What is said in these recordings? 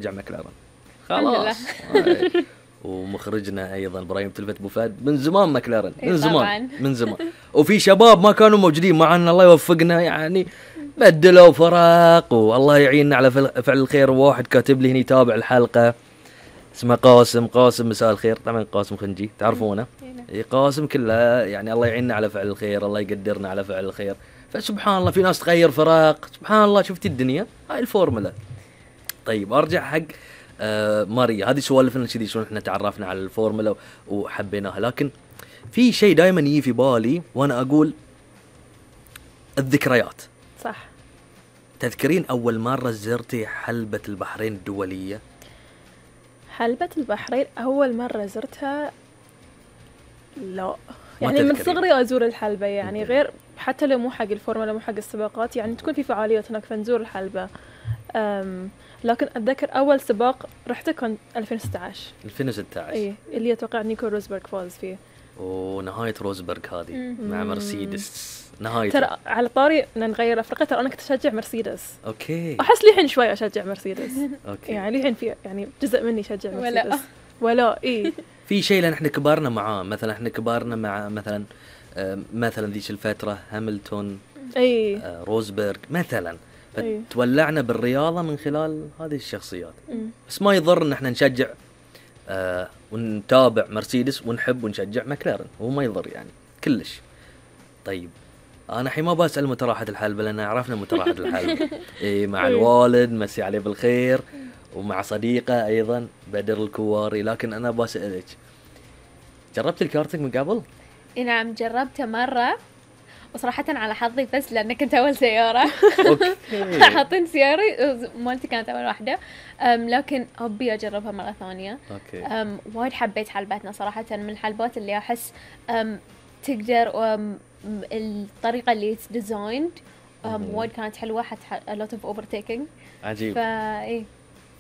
رجع مكلارن الحمد لله. خلاص. ومخرجنا ايضا ابراهيم تلفت ابو فهد من زمان مكلارن من إيه زمان طبعاً. من زمان. وفي شباب ما كانوا موجودين معنا الله يوفقنا يعني بدلوا فرق والله يعيننا على فعل الخير. واحد كاتب لي هنا يتابع الحلقة اسمه قاسم مساء الخير. طبعا قاسم خنجي تعرفونه. إيه قاسم كله يعني الله يعيننا على فعل الخير الله يقدرنا على فعل الخير. فسبحان الله في ناس تغير فرق سبحان الله شفتي الدنيا هاي الفورمولا. طيب ارجع حق ماريا هذه سوالفنا كذي شلون احنا تعرفنا على الفورمولا وحبيناها. لكن في شيء دائما يجي في بالي وانا اقول الذكريات. صح. تذكرين اول مرة زرتي حلبة البحرين الدولية؟ حلبة البحرين أول مرة زرتها لا يعني من صغري أزور الحلبة يعني غير حتى لو مو حق الفورمولا مو حق السباقات يعني تكون في فعاليات هناك فنزور الحلبة. لكن أتذكر أول سباق رحته كان 2016 إيه اللي أتوقع نيكو روزبرغ فاز فيه. ونهاية روزبرغ هذه مع مرسيدس نهاية. ترى على طاري نغير أفريقيا ترى أنا كنت أشجع مرسيدس. أوكي. أحس لي الحين شوي أشجع مرسيدس. أوكي. يعني الحين في يعني جزء مني يشجع مرسيدس. ولا إيه. في شيء لأن إحنا كبرنا معاه مثلا إحنا كبرنا مع مثلا ذيك الفترة هاملتون. روزبرغ مثلا. فتولعنا بالرياضة من خلال هذه الشخصيات. بس ما يضر إن إحنا نشجع ونتابع مرسيدس ونحب ونشجع مكلارن هو ما يضر يعني كلش. طيب أنا حين ما بسأل متى راحت الحلبة لأن عرفنا متى راحت الحلبة. إيه مع الوالد مسي عليه بالخير ومع صديقة أيضا بدر الكواري. لكن أنا بسألك جربت الكارتينج من قبل؟ نعم جربته مرة وصراحة على حظي بس لأن كنت أول سيارة. حاطين سيارة مالتي كانت أول واحدة. لكن أبي أجربها مرة ثانية. وايد حبيت حلبتنا صراحة من الحلبات اللي أحس تقدر الطريقة اللي ديزايند وايد كانت حلوة حتى a lot of overtaking. عجيب. إيه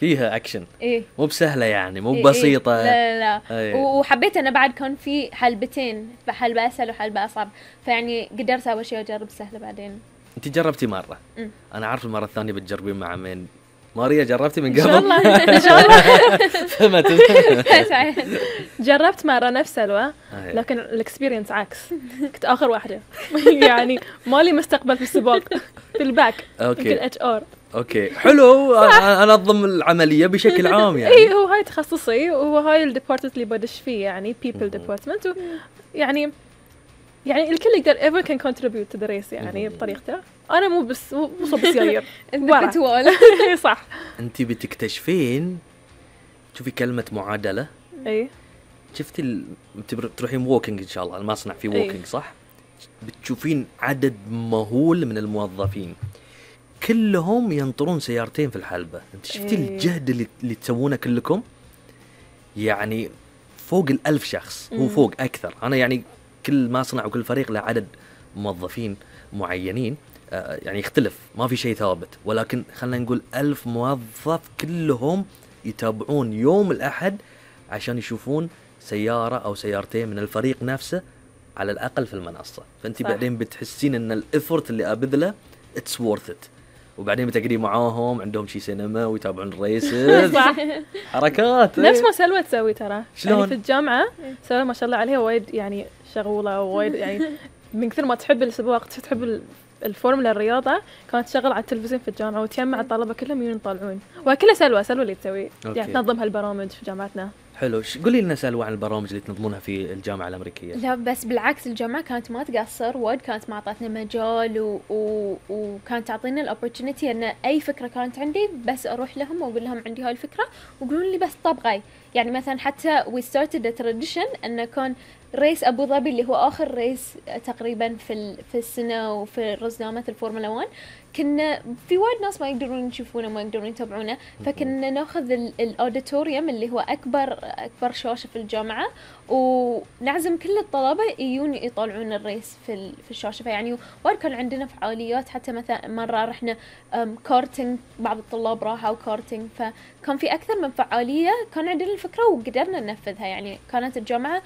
فيها أكشن. إيه. مو بسهلة يعني مو بسيطة. لا. وحبيت أنا بعد كان في حلبتين فحلبة أسهل وحلبة أصعب فيعني قدرت أول شيء أجرب سهلة بعدين. أنت جربتي مرة. أنا عارف المرة الثانية بتجربين مع من ماريا جربتي من قبل؟ إن شاء الله. جربت مرة نفس سلوى لكن الإكسبيرينس عكس. كنت آخر واحدة يعني مالي مستقبل في السباق في الباك. يمكن HR. اوكي حلو. انظم العمليه بشكل عام يعني. اي هو هاي تخصصي وهو هاي الديبارتمنت اللي بدش فيه يعني people department يعني الكل يقدر everyone can contribute to the race يعني بطريقته. انا مو بس مو صوب سيايير صح. انت بتكتشفين شوفي كلمه معادله. اي شفتي تروحين ووكينج ان شاء الله المصنع في ووكينج صح. بتشوفين عدد مهول من الموظفين كلهم ينطرون سيارتين في الحلبة. انت شفتي الجهد اللي تسوونه كلكم يعني فوق 1000 شخص. هو فوق أكثر. أنا يعني كل مصنع وكل فريق له عدد موظفين معينين يعني يختلف ما في شيء ثابت ولكن خلنا نقول 1000 موظف كلهم يتابعون يوم الأحد عشان يشوفون سيارة أو سيارتين من الفريق نفسه على الأقل في المنصة. فأنت بعدين بتحسين أن الإفورت اللي أبذله it's worth it. وبعدين بتقري معاهم عندهم شي سينما ويتابعون الريسز. حركات نفس ما سلوى تسوي ترى يعني في الجامعة. سلوى ما شاء الله عليها وايد يعني شغولة وايد يعني من كثر ما تحب السباق تحب الفورمولا الرياضة كانت تشغل على التلفزيون في الجامعة وتجمع الطلبة كلهم يطالعون وكلها سلوى اللي تسوي يعني تنظم هالبرامج في جامعتنا. حلو. قولي لنا سلوى عن البرامج اللي تنظمونها في الجامعة الأمريكية. لا بس بالعكس الجامعة كانت ما تقصر وايد كانت معطتنا مجال وكانت تعطينا الأوبورتونيتي أن أي فكرة كانت عندي بس أروح لهم وأقول لهم عندي هاي الفكرة ويقولون لي بس طبقي. يعني مثلا حتى we started a tradition أنه كان ريس أبو ظبي اللي هو آخر ريس تقريبا في السنة وفي رزنامة الفورمولا 1 كنا في وايد ناس ما يقدرون يشوفونه ما يقدرون يتابعونه فكنا ناخذ الأوديتوريوم اللي هو أكبر شاشة في الجامعة ونعزم كل الطلبة يجون يطالعون الريس في الشاشة. فيعني وايد كان عندنا فعاليات حتى مثلا مرة رحنا كارتينج بعض الطلاب راحوا كارتينج فكان في أكثر من فعالية كان عندنا الفكرة وقدرنا ننفذها. يعني كانت الجامعة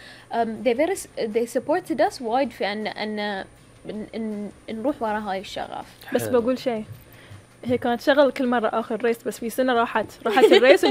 they supported us وايد في أن نروح وراء هاي الشغف. بس بقول شيء هي كانت شغل كل مرة آخر ريس، بس في سنة راحت الريس